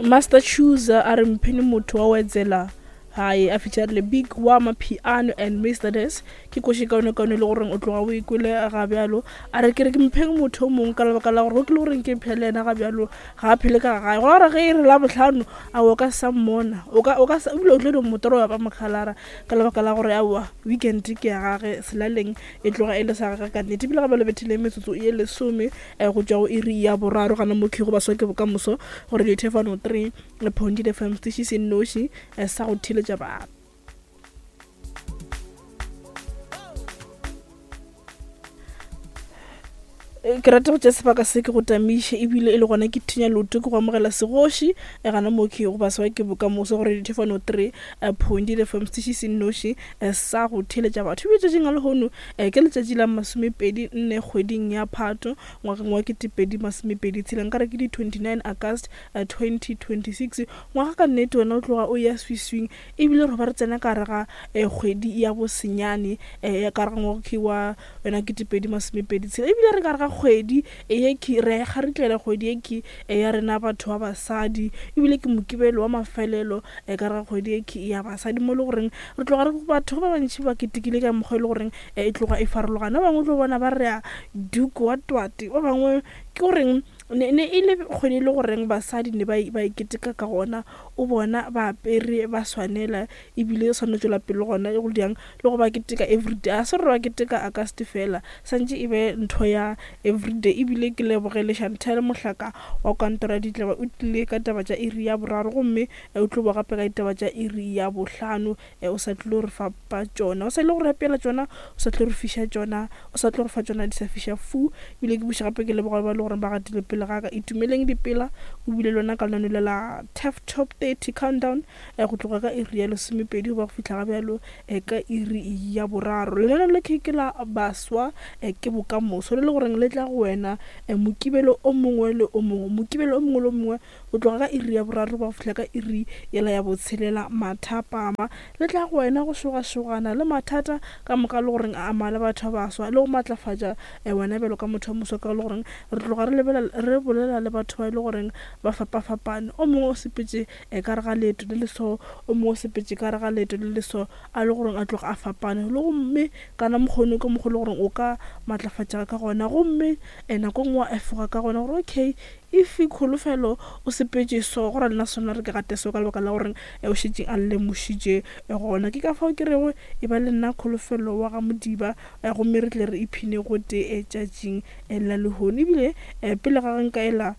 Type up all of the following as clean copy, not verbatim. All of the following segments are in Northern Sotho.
Master Chooser a re mphene motho wa wetsela hae a featurile Big wa Mapiano and Mr Des ke koši kaone kaone le goreng o tloga o ikwele ga bjalo a re ke re ke mpheng motho o mongwe ka lebaka la gore go ke le goreng ke phele yena ga bjalo ga a phele ka gae go ra gore ge e re la bohlano a o ka sa mmona o ka o ka ebile o tlo di motoro wa ba mokhalara ka lebaka la gore aowa weekend ke ya gage selaleng e tloga e le sa gage ka nnete ebile ga bjalo bethile metsotso e lesome eh, go tšwa go iri ya boraro gana mo go baswa ke bokamoso gore dithefano 3 point fm setiši se nnoši eh, sa go theletša batho Eh, ke rata go tša sebaka se ke go tamiše ebile e le gona ke thinya loto ke go amogela segoši e gana mo ke go baswa ke bokamoso gore dithefano 3 point fm setiši se nnoši sa go theletša batho ebile tšatšing a lehono ke letšatši la masomepedi nne kgweding ya phato ngwageng wa 2026 nka re ke di 29 August 2026 ngwaga ka nnete wena o tloga o ya swiswing ebile re ba re tsena ka gare ga kgwedi ya bosenyane ya ka gare ga ngwaga wa yona 2026 ebile re ka gare ga kgwedi ye ke re kgaritlela kgwedi ye ke ya rena batho ba basadi ebile ke mokibelo wa mafelelo ka gare ga kgwedi ye ke ya basadi mo e le goreng re tloga re batho ba bantši ba ketekile ka mokgwa e le goreng e tloga e farologana ba bangwe tlo bona ba re a duke wa twate ba bangwe ke goreng ne ne e le kgwedi e le goreng basadi ne ba ba keteka ka gona o bona ba apere ba swanela ebile e swanetše tšwela pele gona e go diang le go ba keteka everyday a se gore ba keteka August fela santše e be ntho ya everyday ebile ke lebogele Chantel Mohlaka wa kantoro ya ditlaba o tlile ka taba tša iri ya boraro gomme o tlo boa gape ka ditaba tša iri ya bohlano o sa tlilo re fapa tšona o sa ile go re apeela tšona o sa tlo re fiša tšona o sa tlo re fa tšona di sa fiša fu ebile ke buša gape ke leboga ba le gore ba gatile pele ga ka itumeleng dipela o bile lona ka lenaneo le la taf top 30 countdown eh, go tloga ka iri ya lesomepedi go ba go fihla ga bjalo eh, ka iri ya boraro lenaneo le ke la baswa eh, ke bokamoso le le goreng le tla go wena eh, mokibelo o mongwe le o mongwe mokibelo o mongwe le o mongwe Go tloga ka iri ya boraro go fihla ka iri yela ya botshelela mathapama, le tla go wena go šogašogana le mathata ka moka le goreng a ama le batho ba baswa le go matlafatša eh, wena bjalo ka motho wa moswa ka le goreng re tloga re lebelela re bolela le batho ba e le goreng ba fapafapane. O mongwe o sepetše eh, ka re ga leeto le le so, o mongwe o sepetše ka re ga leeto le le so a le goreng a tloga a fapane le gomme kana mokgone ka mokgwa le goreng o ka matlafatšega ka gona gomme eh, nako e nngwe wa efoga ka gona gore okay If Kholofelo o sepetše so, go ra nna sona re ke gate so ka lebaka la gore o šetše a lemošitše gona. Ke ka fao ke rego e ba le nna Kholofelo wa ga Modiba gomme re tle re iphine gotee tšatšing la lehono. Ebile pele ga ge nka ela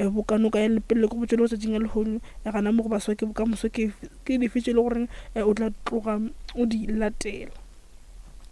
bokanoka ya lepelle ke botše le go tšatšing la lehono gana mo go baswa ke bokamoso ke dife tše e le goreng o tla tloga o di latela.